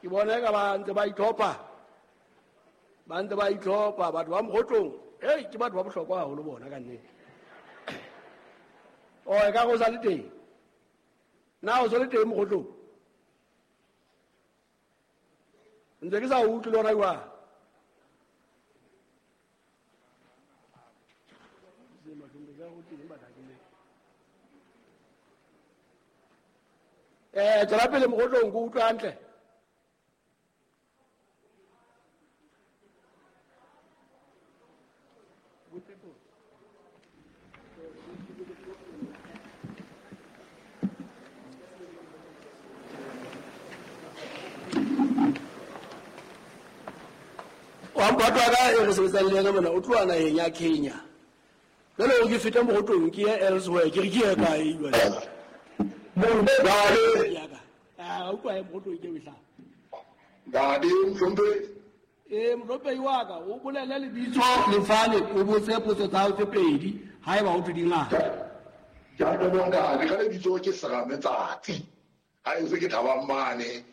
Ke bona eka ba ntse ba itlhopha, ba ntse ba itlhopha batho ba Mokgotlong. Ei, ke batho ba bohlokwa haholo bona ka nnete. O e ka go sa le teng? Na o sa le teng Mokgotlong? Ntse ke sa utlwe le ona jwang. Tswela pele Mokgotlong, ke utlwe hantle. Wa mphato wa ka e re sebetsang le yena mona o tloha naheng ya Kenya. Jwale o ke fete Mokgotlong ke ye elsewhere, ke re ke ye kae jwale? Ntate. Ya ka. Ah, utlwa e Mokgotlong ke e hlaha. Ntate Mohlomphehi. Mohlomphehi wa ka, o bolele lebitso lefale, o botse potso tsa hao tse pedi haeba ho thwe di ngata. Ke a leboha ntate, ka lebitso ke Serame Tsatsi. Ha ntse ke thabang mane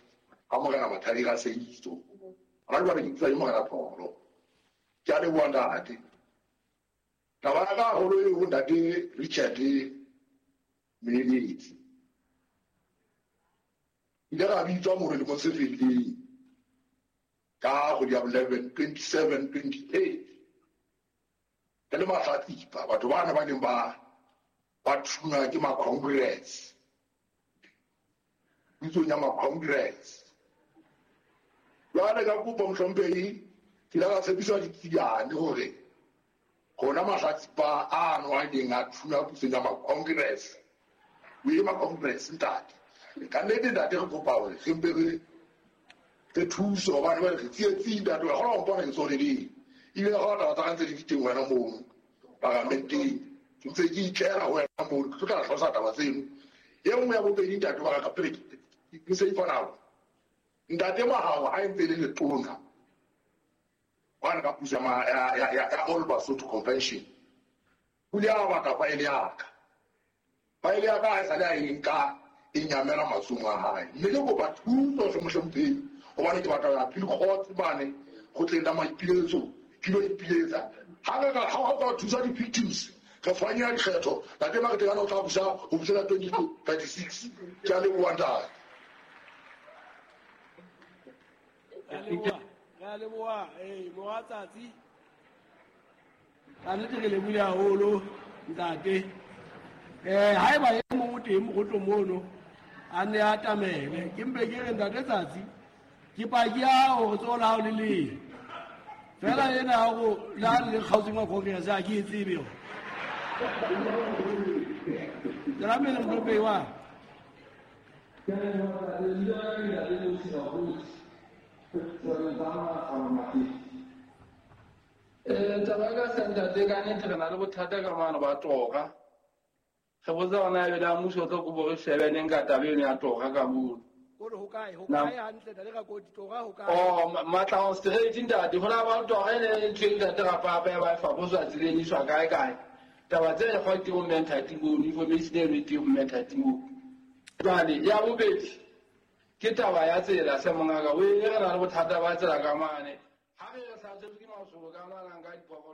ha Morena Mathadi Raseitso. Hona jwale ke bitswa ke Morena Pholo. Ke a leboha ntate. Taba ya ka haholo e ho ntate Richard Moeletsi. Ile ra bitswa mono lemong se fetileng ka kgwedi ya 11, 27, 28. Re le mahlatsipa, batho bana ba neng ba thunywa ke ma-Congress. Pitsong ya ma-Congress. Jwale ka kopo Mohlomphehi, ke ile ka tshepiswa ditsiane hore rona mahlatsipa ano a neng a thunywa pusong ya ma-Congress, o ye ma-Congress ntate. Ka nnete ntate re kopa hore re mpe re thuse hobane jwale re tsietsing ntate, wa kgona ho mpona ke tsone leng. Ebile ga taba tsa ka ntse di le teng wena mono paramenteng, ke ntse ke itlela ho wena mono, ke tlo tla hlalosa taba tseno. E nngwe ya bobedi ntate wa ka pele ke se ifa nako. Ntate Mahao ha e ntse e le letona hwane ka puso ya All Basotho Convention, o ile a batla faele ya ka. Faele ya ka ha e sale a e nka e nyamela matsohong a hae. Mme ke kopa thuso hle Mohlomphehi, hobane ke batla ho ya appeal court mane kgotleng la maipiletso, ke lo ipiletsa. Ha re ka ha o ka thusa di-victims, re fanyela dikgetho, ntate Maretekane o tla busa ho fihlela 2036. Ke a leboha ntate. Re a leboha, mora Tsatsi. Ka nnete re lebohile haholo ntate. Haeba e mong o teng Mokgotlong mono a nne a atamele, ke mpe ke re ntate Tsatsi, ke paki ya hore tsoho la hao le leng. Fela ena ya hore le ha le kgaotseng wa Congress ha ke e tsebe yona. Tswela pele Mohlomphehi wa. Taba ka sa ntate, ka nnete re na le bothata ka mane ba tora. Re botsa hore na ebe la mmuso o tlo kopo re shebe neng ka taba eno ya tora ka mono. O re ho kae? Ho kae hantle, ntate Rakoti? Tora ho kae? Oh, Matla straight ntate. Ho la ba tora e ne e ntho e ntate Rapapa ya ba e faposwa tseleng, e iswa kae kae. Taba tse re kgwa ke bo mme Nthati mono, information eno e teng ho mme Nthati mono. Jwale ya bobedi ke taba ya tsela se mongaka. O e re na le bothata ba tsela ka mane. Ha re re hlasetswe ke masolo ka mane, a nka diphoofolo.